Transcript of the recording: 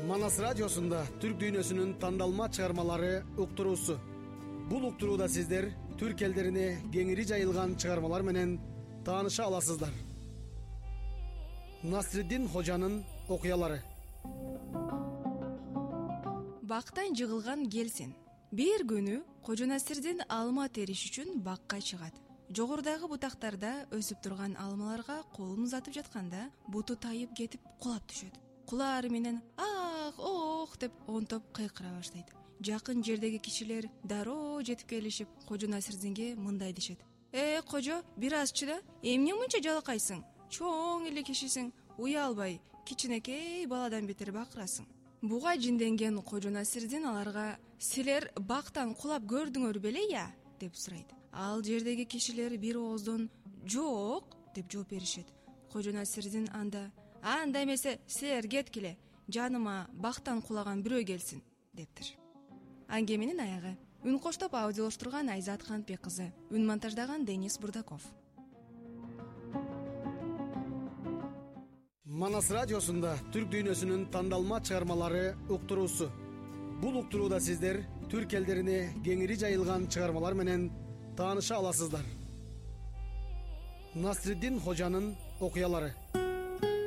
Манас радиосунда түрк дүйнөсүнүн тандалма чыгармалары уктуруусу. Бул уктурууда сиздер түрк элдерине кеңири жайылган чыгармалар менен тааныша аласыздар. Насриддин Хожанын окуялары. Бактан жыгылган келсин. Бир күнү Кожо Насирдин алма териш үчүн бакка чыгат. Жогорудагы бутактарда өсүп турган алмаларга колун узатып жатканда буту тайып кетип кулап түшөт. Кулаары менен ах, ох деп онтоп кыйкыра баштайт. Жакын жердеги кишилер дароо жетип келишип Кожо Насирдинге мындай дешет: Кожо, бир аз чыда, эмне мынча жалакайсың? Чоң эле кишисиң, уялбай, кичинекей баладан бетер бакырасың. Буга жинденген Кожо Насирдин аларга: силер бактан кулап көрдүңөр беле деп сурайт. Ал жердеги кишилер бир ооздон жок деп жооп беришет. Кожо Насирдин анда: анда эмесе силер кеткиле, жаныма бактан кулаган бирөө келсин дептир. Аңгеменин аягы. Үн коштоп аудиолоштурган Айзат Кантбек кызы, үн монтаждаган Денис Бурдаков. Манас радиосунда түрк дүйнөсүнүн тандалма чыгармалары уктуруусу. Бул уктурууда сиздер түрк элдерине кеңири жайылган чыгармалар менен тааныша аласыздар. Насриддин Хожанын окуялары.